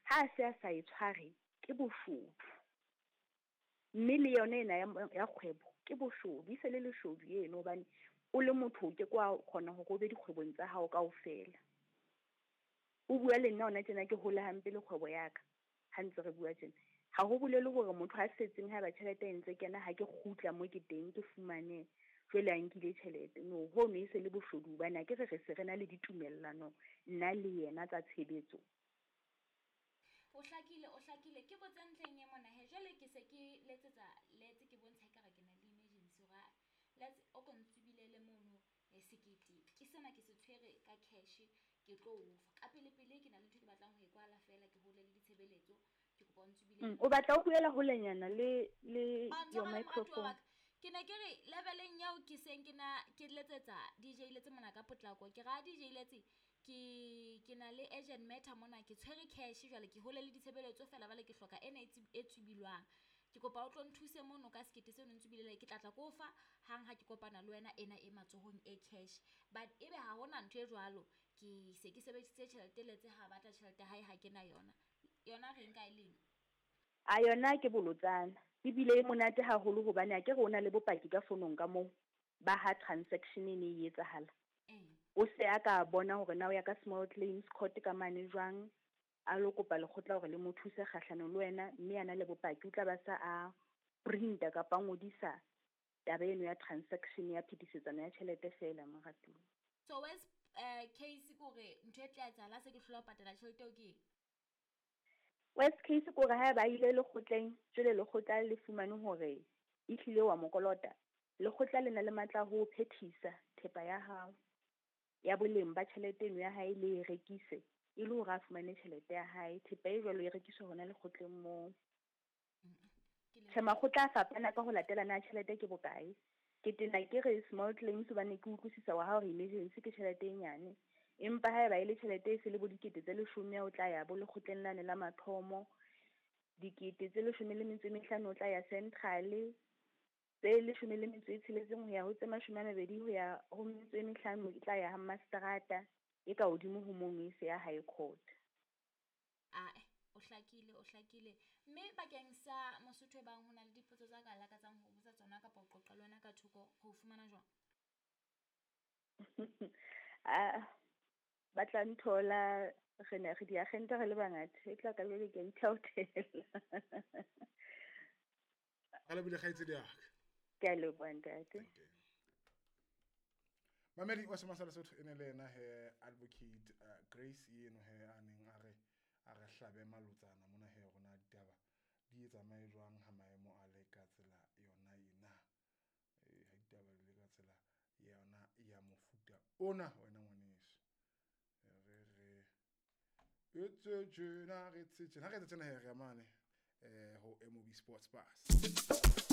Ha a se a sa e tshware ke boshodu. Mme le yona ena ya kgwebo ke boshodu, e se le leshodu eno hobane o le motho o ke ke wa kgona hore o be dikgwebong tsa hao kaofela. O bua le nna hona tjena ke hole hampe le kgwebo ya ka ha ntse re bua tjena. Ha ho bolele hore motho a setseng haeba tjhelete e ntse kena ha ke kgutla mo ke teng ke fumane jwale a nkile tjhelete. No, hono e se le boshodu hobane akere re se re na le ditumellano nna le yena tsa tshebetso. O hlakile, o hlakile. Ke botse ntlheng e mona he. Jwale ke se ke letsetsa Letse ke bontsha ekare ke na le emergency hore Letse o ko ntsubilele mono sekete. Ke sena ke se tshwere ka cash ke tlo o fa. Ka pele pele ke na le ntho e ke batlang ho e kwala fela ke hole le ditshebeletso. Ke kopa o ntsubilele. O batla o buela holenyana le your microphone. Ke ne ke re leveleng eo ke seng ke na ke letsetsa DJ Letse mona ka potlako. Ke ra DJ Letse ke na le urgent matter mona, ke tshwere cash jwale ke hole le ditshebeletso fela jwale ke hloka ena e tsubilwang. Ke kopa o tlo nthuse mono ka sekete seno ntsubilele, ke tla tla ko fa hang ha ke kopana le wena ena e matsohong e cash. But ebe ha hona ntho e jwalo, ke se ke sebedisitse tjhelete Letse ha batla tjhelete hae ha ke na yona. Yona re nka e leng? A yona ke bolotsana. Ebile e monate haholo hobane akere o na le bopaki ka fonong ka moo ba ha transaction e ne e etsahala. O se a ka bona hore na o ya ka small claims court ka mane jwang, a lo kopa lekgotla hore le mo thuse kgahlanong le wena, mme a na le bopaki o tla ba sa a printa kapa a ngodisa taba eno ya transaction ya phetisetsano ya tjhelete fela moratuwa. So worst case ke hore ntho e tla etsahala se ke hlola ho patala tjhelete eo ke eng? Worst case ke hore haeba a ile lekgotleng, jwale lekgotla le fumane hore ehlile wa mo kolota, lekgotla le na le matla a ho phethisa thepa ya hao ya boleng ba tjhelete eno ya hae le e rekise e le hore a fumane tjhelete ya hae. Thepa e jwalo e rekiswa hona lekgotleng moo. Tjhe, makgotla a fapana ka ho latela na tjhelete ke bokae. Ke tena ke re small claims hobane ke utlwisisa wa hao hore emergency ke tjhelete e nyane. Empa haeba e le tjhelete e se le bo dikete tse leshome o tla ya bo lekgotleng lane la mathomo. Dikete tse 15 o tla ya central. Tse 16 ho ya ho tse 20 ho ya ho metso e mehlano e tla ya ha mastrata e ka hodimo ho mono e se ya high court. Ae, o hlakile, o hlakile. Mme bakeng sa Mosotho e bang ho na le dipotso tsa ka lakatsang ho botsa tsona kapa ho qoqa le wena ka thoko, ho fumana jwang? Ba tla nthola re ne re diagente re le bangata, e tla ka jwale ke a ithaothela. Re lebohile kgaitsedi ya ka. Ke a leboha ntate. Mamedi wa Sema sa Lesotho e ne le yena he Advocate Grace eno he a neng a re a re hlabe malotsana mona he rona ditaba di tsamaye jwang ha maemo a le ka tsela yona ena. Ha ditaba di le ka tsela yona ya mofuta ona wena ngwaneso. Re re etse tjena re etse tjena, ha re etse tjena he re mane ho MOB Sports Pass.